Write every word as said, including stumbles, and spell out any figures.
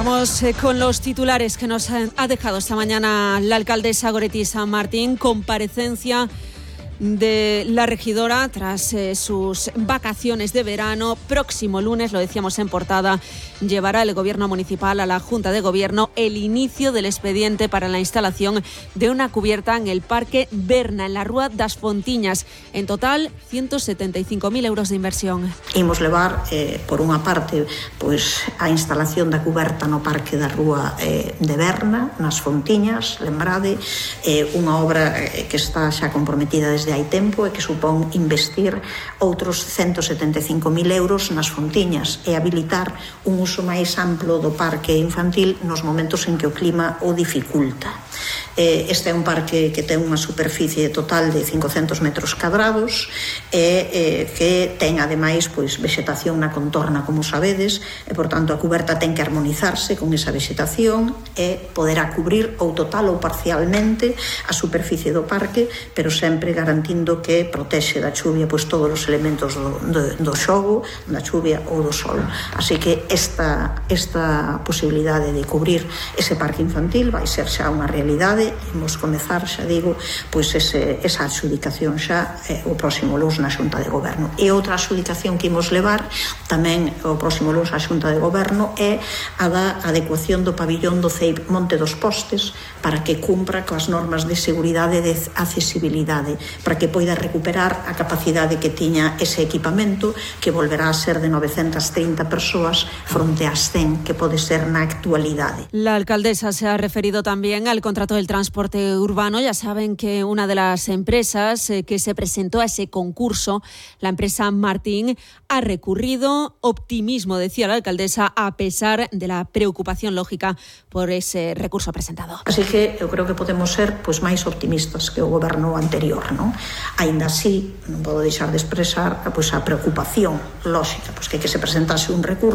Vamos eh, con los titulares que nos ha dejado esta mañana la alcaldesa Goretti San Martín. Comparecencia de la regidora tras eh, sus vacaciones de verano. Próximo lunes, lo decíamos en portada, llevará el gobierno municipal a la Junta de Gobierno el inicio del expediente para la instalación de una cubierta en el Parque Berna, en la Rúa das Fontiñas. En total, ciento setenta y cinco mil euros de inversión. Imos levar, eh, por unha parte, pois, a instalación da cuberta no Parque da Rúa eh, de Berna, nas Fontiñas, lembrade, eh, unha obra eh, que está xa comprometida desde hai tempo e que supón investir outros ciento setenta e cinco mil euros nas Fontiñas e habilitar un uso máis amplo do parque infantil nos momentos en que o clima o dificulta. Este é un parque que ten unha superficie total de cincocentos metros cadrados e que ten ademais pois vexetación na contorna, como sabedes, e por tanto a cuberta ten que armonizarse con esa vexetación e poderá cubrir ou total ou parcialmente a superficie do parque, pero sempre garantindo que protexe da chuvia pois todos os elementos do, do, do xogo, da chuvia ou do sol. Así que esta, esta posibilidade de cubrir ese parque infantil vai ser xa unha realidade. Imos comezar, xa digo, pois ese, esa adxudicación xa eh, o próximo luns na Xunta de Goberno. E outra adxudicación que imos levar tamén o próximo luns á Xunta de Goberno é a da adecuación do pabillón do C E I P Monte dos Postes para que cumpra coas normas de seguridade e de accesibilidade, para que poida recuperar a capacidade que tiña ese equipamento, que volverá a ser de novecentas trinta persoas fronte ás cen que pode ser na actualidade. La alcaldesa se ha referido también al contrato del transporte urbano. Ya saben que una de las empresas eh, que se presentó a ese concurso, la empresa Martín, ha recurrido. Optimismo, decía la alcaldesa, a pesar de la preocupación lógica por ese recurso presentado. Así que eu creo que podemos ser pois máis optimistas que o goberno anterior, non? Aínda así, non podo deixar de expresar pois a preocupación lógica, pois que que se presentase un recurso